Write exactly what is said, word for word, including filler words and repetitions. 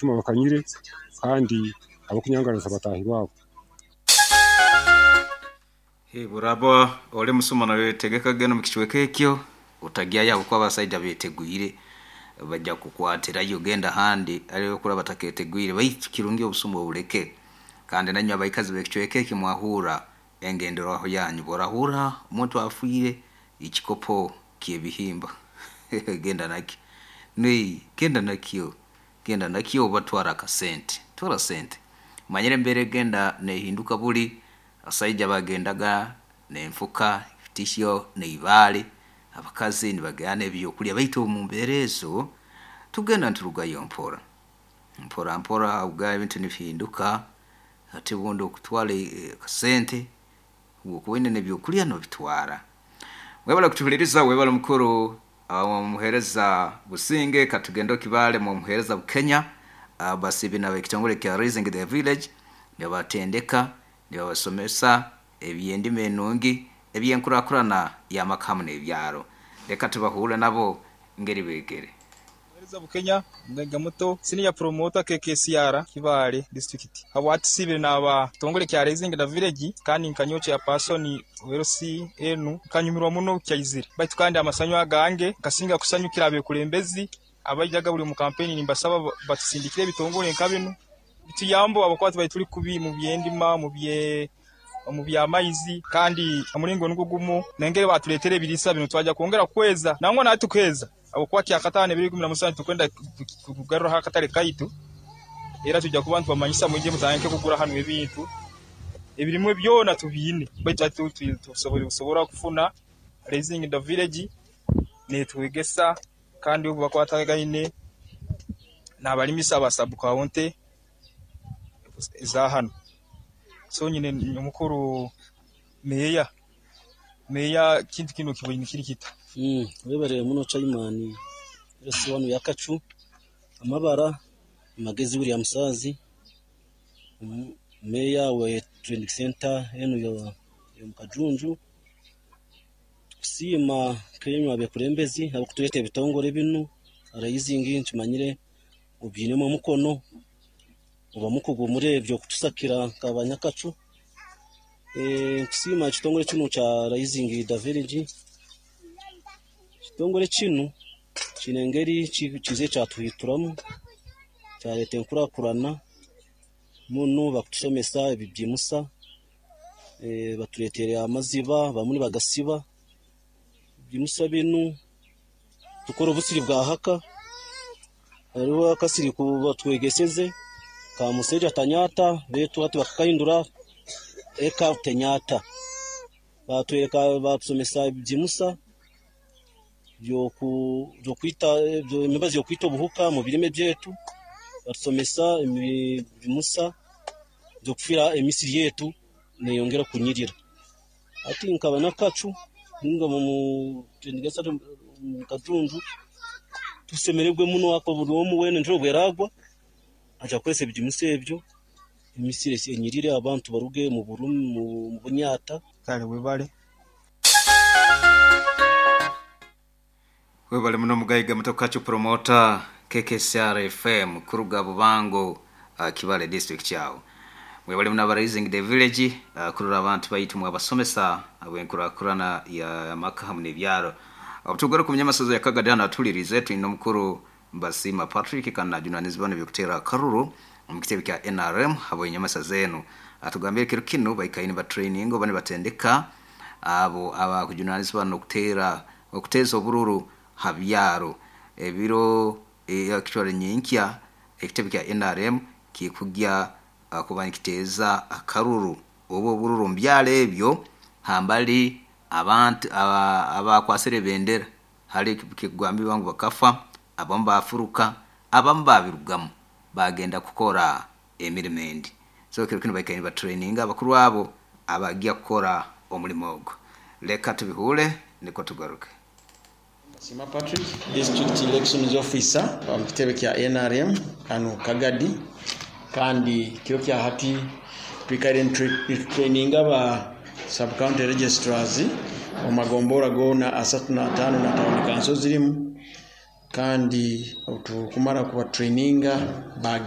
Bakanyire kandi abakunyangaraniza bataahi baabo. Buraba oli musuma nawe tegeka genda mu kicweka ekyo, otagyayo habwokuba abasaija beteguire, bajja kukwatirayo. Genda handi ariyo kuraba bataketeguire, baitu kirungi obusuma obuleke. Kandi nanywe abaikazi b'ekicweka ekyo mwahurra engenderwaho yanyu. Bworahurra omuntu afiire, ekikopo ky'ebihimba genda nakyo, genda nakyo, genda nakyo oba twara akasente, twara sente. Manyire embeera egenda neehinduka, buli abasaija bagendaga n'enfuka, ebitihyo n'ibaale, abakazi nibagenda n'ebyokulya, baitu omu mbeera ezo tugenda niturugayo mpora mpora mpora, habwa ebintu nibihinduka. Hati obundi okutwara akasente, obu okuba oine n'ebyokulya noobitwara. Webale kutuhuliriza, webale mukuru omuheereza Businge, katugende Kibaale mu omuheereza Bukenya. Basiibi n'ab'ekitongole kya Raising the Village nibabatendeka, nibabasomesa eby'endima enungi, eby'enkurakurana y'amaka hamu n'ebyaro. Leka tubahuurre nabo ngeri beegere. Muheereza Bukenya, mugaiga muto, senior promoter K K C R Kibaale District. Habwatusiibire n'aba kitongole kya Raising the Village, kandi nka chairperson W L C enu nkanyumirwa muno kyaizire. Baitu kandi amasanyu agange nkasinga kusanyukira abekulembezi abaijaga buli mu kampeni, nimbasaba batusindikire ebitongole nka binu bituyambe abakuba tubaire tuli kubi mu byendima, mu bye omu byamaizi. Kandi omulingo nugwo gumu nengeri batuleetera ebiriisa binu, twaja kwongera kweza nangwa nawe tukeza, habwokuba kyakataano ebiro ikumi na musanju tukwenda kugaruraho akatale kaitu. Era tujja kuba nitubamanyisa, mwije mutandike kugura hanu ebintu ebirimwe byona tubiine. Baitu tusobora kufuna Raising the Village netwegesa, kandi obu bakwatagaine n'abalimisa aba sub county eza hanu. So nyine omukuru meya, meya, kintu kinu kiboine kiri kita? Mm, webale muno chairman L C wanu yakacu amabara Magezi William Saazi, meya we training center enu yo Mukajunju. Tukusiima kenywa abekulembezi abakutuleeta ebitongole binu Raising. Nkimanyire obiinemu omukono oba mukugu muri ebyo kutusakira nk'abanyakacu. Nkusiima ekitongole kinu kya Raising the Village. Ekitongole kinu kiine engeri kiizire kyatuhituramu, kyaleeta enkurakurana muno. Bakutusomesa ebigimusa, batuleetere amaziba, bamwe nibagasiba ebigimusa binu, tukora obusiri bwa haka. Hariho akasiri batwegeseze ka museija tanyata, baitu hati bakakahindura eka tenyata. Batwereka, batusomesa ebigimusa byokwita emibazi yokwita obuhuka mu birime byaitu, batusomesa ebigimusa byokufira emisiri yetu neyongera kunyirira. Hati nk'abanyakacu ninga mu Kajunju tusemereirwe muno ahakuba buri omwe weena enjura obweragwa aija kukozesa ebigimusa ebyo, emisiri enyirire, abantu baruge mu bunyata. Kale, webale. Webale muno mugaiga muto Kacu promoter K K C R F M kuruga Bubango, uh, Kibale District kyawo. Webale muno aba Raising the Village uh, kurora abantu baitu mwabasomesa abwenkurakurana ya maka hamu n'ebyaro. Obutugaruka ku nyamasozo ya Kagadi hano atulirize, tulina omukuru Mbasima Patrick, kandi najunanizibwa n'ebyokutera akaruru omu kitebe kya N R M habw'enyamasa zenu. Atugambire kiro kinu baikaine ba training oba nibatendeka abo abakujunanizibwa n'okutera okuteeza obururu ha byaro ebiro ekitwale nyenkya. Ekitebe kya N R M kikugya uh, kuba nikiteeza akaruru oba obururu omu byaro ebyo hambali abantu abakwasire ebendera. Hali kikugambibwa ngu bakafa, abamu bafuruka, abamu babirugamu bagenda kukora emirimo endi. So kiro kinu baikaire nibatraininga abakuru abo abagya kukora omulimo ogwo. Leka tubihuure niko tugaruke. Sima Patrick, District Elections Officer wa kitebe kya N R M hano Kagadi. Kandi kiro kya hati twikaire training aba sub county registrars omu magombora goona asatu na ataano na tawuni kanso zirimu. Kandi obu tukumara kubatraininga bagenda.